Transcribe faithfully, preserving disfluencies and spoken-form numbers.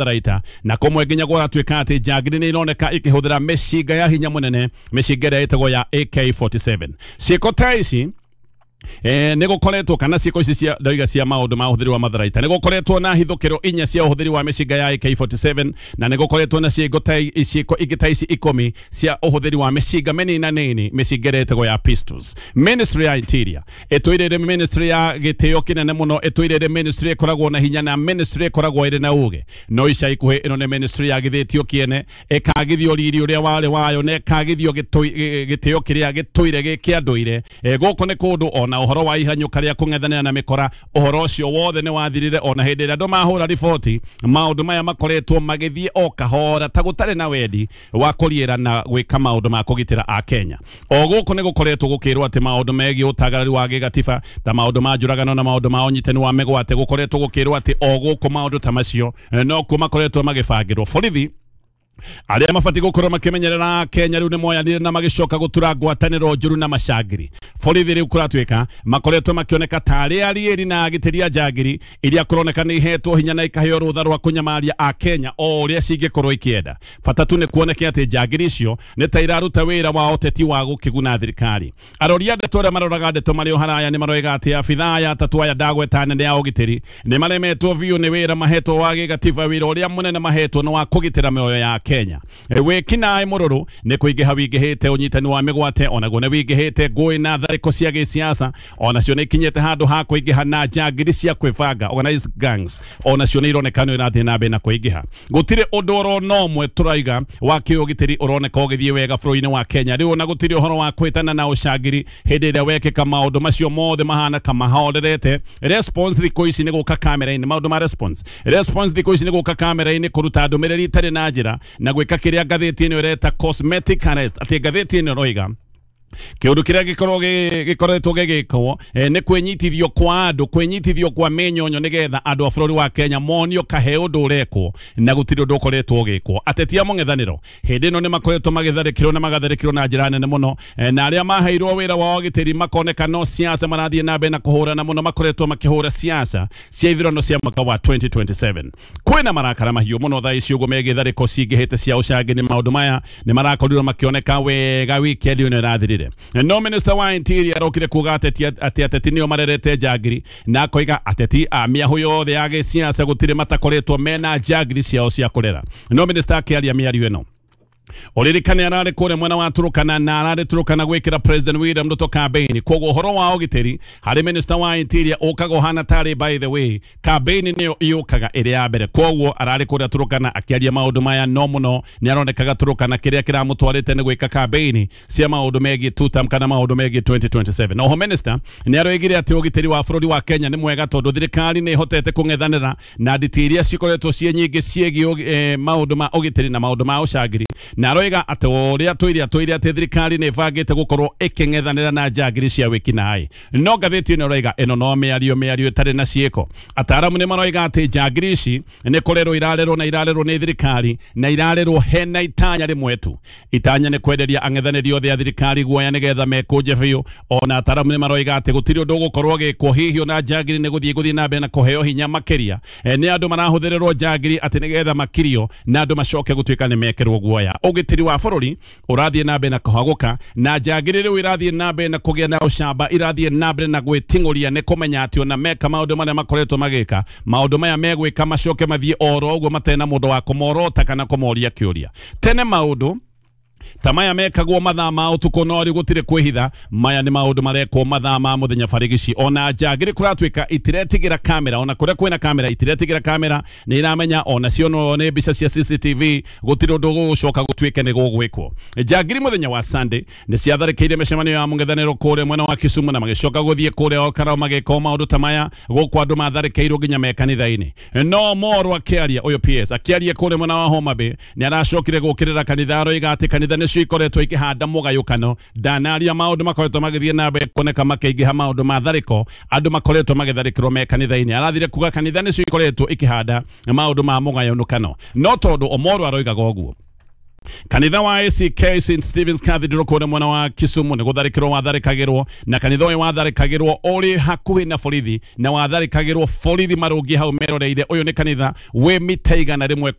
Tharaita na kũmwe nginya kũratuĩka atĩ njangiri nĩ ironeka ikĩhũthĩra mĩcinga ya hinya mũnene, mĩcinga ĩrĩa ĩtagwo ya A K forty-seven. Ciĩko ta ici Eh, nĩ gũkoretwo kana ciĩko ici cia ndoiga cia maũndũ ma ũhũthĩri wa matharaita, nĩ gũkoretwo na hithũkĩro inya cia ũhũthĩri wa mĩcinga ya A K forty-seven, na nĩ gũkoretwo na ciĩko ta ciĩko ingĩ ta ici ikũmi cia ũhũthĩri wa mĩcinga mĩnini nini, mĩcinga ĩrĩa ĩtagwo ya pistols. Ministry ya Interior ĩtũire ministry ya gĩtĩo kĩnene mũno, ĩtũire ministry ĩkoragwo na hinya na ministry ĩkoragwo ĩrĩ na ũgĩ, no ica ikuhĩ ĩno nĩ ministry yagithĩtio kĩene, ĩkagithio riri ũrĩa warĩ wayo na ĩkagithio gĩtĩo kĩrĩa gĩtũire gĩ kĩa ndũire. Gũkũ nĩ kũndũ na ũhoro wa ihanyũka rĩa kũng'ethanĩra na mĩkora, ũhoro ũcio wothe nĩ wathirire ona hĩndĩ ĩrĩa andũ mahũra riboti. Maũndũ maya makoretwo magĩthiĩ o kahora ta gũtarĩ na wendi wa kũriĩra na gwĩka maũndũ ma kũgitĩra a Kenya. O gũkũ nĩ gũkoretwo gũkĩrwo atĩ maũndũ megiĩ ũtagarari wa gĩgatiba ta maũndũ ma njũragano na maũndũ ma ũnyitani wa mĩgwate, gũkoretwo gũkĩrwo atĩ o gũkũ maũndũ ta macio no kuo makoretwo magĩbangĩrwo. Borithi arĩa mabatiĩ gũkorwo makĩmenyerera Kenya rĩu nĩ moyanire na magĩcoka gũtura ngwatanĩro njũru na macangiri. Borithi rĩu kũratuĩka makoretwo makĩoneka tarĩ ariĩri na agitĩri a njangiri iria kũroneka nĩ ihetwo hinya na ikaheo rũtha rwa kũnyamaria a Kenya o ũrĩa cingĩkorwo ikĩenda. Bata tu nĩ kuoneke atĩ njangiri icio nĩ ta iraruta wĩra wa ũteti wa gũkĩguna thirikari. Arori a ndeto arĩa maroraga ndeto marĩ o haraya nĩ maroiga atĩ abithaa aya atatũ aya ndagweta nene ya ũgitĩri nĩ maremetwo biũ nĩ wĩra mahetwo wa gĩgatiba. Wĩra ũrĩa mũnene mahetwo nĩ wa kũgitĩra mĩoyo ya Kenya. Wĩkinaĩ mũrũrũ nĩ kũingĩha wingĩhĩte, ũnyitani wa mĩgwate onaguo nĩ wingĩhĩte, ngũĩ na tharĩko cia gĩsiasa onacio nĩ ikinyĩte handũ ha kũingĩha, na njangiri cia kwĩbanga organized gangs onacio nĩ ironeka nĩ irathiĩ na mbere na kũingĩha. Gũtirĩ ũndũ oro no ũmwe tũraiga wa kĩũgitĩri ũroneka ũgĩthiĩ wega bũrũri-inĩ wa Kenya rĩu, ona gũtirĩ ũhoro wa kwĩtana na ũcangiri hĩndĩ ĩrĩa wekĩka maũndũ macio mothe mahana kamahorerete. Response thikũ ici nĩ gũka kamera-inĩ, maũndũ ma response response thikũ ici nĩ gũka kamera-inĩ kũruta ndũmĩrĩri itarĩ na njĩra na gwĩka kĩrĩa ngathĩti ĩno ĩreta cosmetic arrest. Atĩ ngathĩti ĩno ĩroiga kĩũndũ kĩrĩa gĩkorwo gĩkoretwo gĩgĩkwo nĩ kwĩnyitithio kwa andũ, kwĩnyitithio kwa mĩnyonyo nĩgetha andũ a bũrũri wa Kenya monio kahe ũndũ ũrekwo na gũtirĩ ũndũ ũkoretwo ũgĩkwo. Ateti a mũng'ethanĩro hĩndĩ ĩno nĩ makoretwo magĩtharĩkĩrwo na magatharĩkĩrwo na njĩra nene mũno, na arĩa maheirwo wĩra wa ũgitĩri makoneka no siasa marathiĩ na mbere na kũhũrana mũno, makoretwo makĩhũra siasa cia ithurano cia mwaka wa twenty twenty-seven. Kwĩna marakara mahiũ mũno thaa ici ũguo megiĩ tharĩko cingĩhĩte cia ũcangĩri. Maũndũ maya nĩ marakorirwo makĩoneka wega wikendi ĩno ĩrathirire. No minister wa Interior arokire kuga ateti atĩ ateti nĩo marerete njangiri, na akoiga ateti a mĩahũ yothe ya gĩsiasa gũtirĩ matakoretwo mena njangiri ciao cia kũrera. No minister akĩaria mĩario ĩno, ũririkane ararĩ kũrĩa mwena wa Turukana na ararĩ Turukana gwĩkĩra President William Ruto campaign. Koguo ũhoro wa ũgitĩri harĩ minister wa Interior ũkaga ũhana tarĩ, by the way, campaign nĩyo yũkaga ĩrĩ ya mbere. Koguo ararĩ kũrĩa Turukana akĩaria maũndũ maya, no mũno nĩ aronekaga Turukana kĩrĩa kĩramũtwarĩte nĩ gwĩka campaign cia maũndũ megiĩ two term kana maũndũ megiĩ twenty twenty-seven. Oho minister nĩ aroigire atĩ ũgitĩri wa bũrũri wa Kenya nĩ mwega tondũ thirikari nĩ ĩhotete kũng'ethanĩra na nditi iria cikoretwo ciĩ nyingĩ ciĩgiĩ maũndũ ma ũgitĩri na maũndũ ma ũcangiri, na aroiga atĩ ũrĩa tũire atũire atĩ thirikari nĩ ĩbangĩte gũkorwo ĩkĩng'ethanĩra na njangiri cia wĩkinaĩ. No ngathĩti ĩno ĩroiga ĩno no mĩario mĩario ĩtarĩ na ciĩko. Ataaramu nĩ maroiga atĩ njangiri ici nĩ kũrerwo irarerwo na irarerwo nĩ thirikari na irarerwo hena itanya rĩmwe tu. Itanya nĩ kwenderia ang'ethanĩri othe a thirikari guoya nĩgetha mekũnje biũ. Ona ataaramu nĩ maroiga atĩ gũtirĩ ũndũ ũgũkorwo ũgĩkwo hihi ona njangiri nĩ gũthiĩ gũthiĩ na mbere na kũheo hinya makĩria. Nĩ andũ marahũthĩrĩrwo njangiri atĩ nĩgetha makirio na andũ macoke gũtuĩka nĩ mekĩrwo guoya. Ũgitĩri wa bũrũri ũrathiĩ na mbere na kũhagũka, na njangiri rĩu irathiĩ na mbere na kũgĩa na ũcamba, irathiĩ na mbere na gwĩting'ũria nĩ kũmenya atĩ ona meka maũndũ marĩa makoretwo magĩka, maũndũ maya megwĩka macoke mathiĩ oro ũguo matarĩ na mũndũ wa kũmorota kana kũmoria kĩũria. Tene maũndũ ta maya mekagwo mathaa ma ũtukũ, no rĩu gũtirĩ kwĩhitha. Maya nĩ maũndũ marekwo mathaa ma mũthenya barigici. Ona njangiri kũratuĩka itiretigĩra kamera, ona kũrĩa kwĩna kamera itiretigĩra kamera, nĩ iramenya ona cio no nĩ mbica cia C C T V, gũtirĩ ũndũ gũgũcoka gũtuĩke nĩ gũgwĩkwo. Njangiri mũthenya wa Sunday nĩ ciatharĩkĩire mĩcemanio ya mũng'ethanĩro kũrĩa mwena wa Kisumu na magĩcoka gũthiĩ kũrĩa Olkalau magĩka maũndũ ta maya. Gũkũ andũ matharĩkĩirwo nginya me kanitha-inĩ. No Moro akĩaria, ũyũ P S akĩaria kũrĩa mwena wa Homa Bay, nĩ aracokire gũkĩrĩra kanitha, aroiga atĩ kanitha nĩcio ikoretwo ikĩhanda mũgayũkano. Ndanaria maũndũ makoretwo magĩthiĩ na mbere kuoneka makĩingĩha maũndũ ma tharĩko, andũ makoretwo magĩtharĩkĩrwo me kanitha-inĩ. Arathire kuga kanitha nĩcio ikoretwo ikĩhanda maũndũ ma mũgayũkano, no tondũ Omoro aroigaga ũguo. Kanitha wa A C K Saint Stephen's Cathedral kũrĩa mwena wa Kisumu nĩ gũtharĩkĩrwo watharĩkagĩrwo, na kanitha ũyũ watharĩkagĩrwo ũrĩ hakuhĩ na borithi, na watharĩkagĩrwo borithi marũngiĩ hau meroreire. Ũyũ nĩ kanitha wĩ mita igana rĩmwe.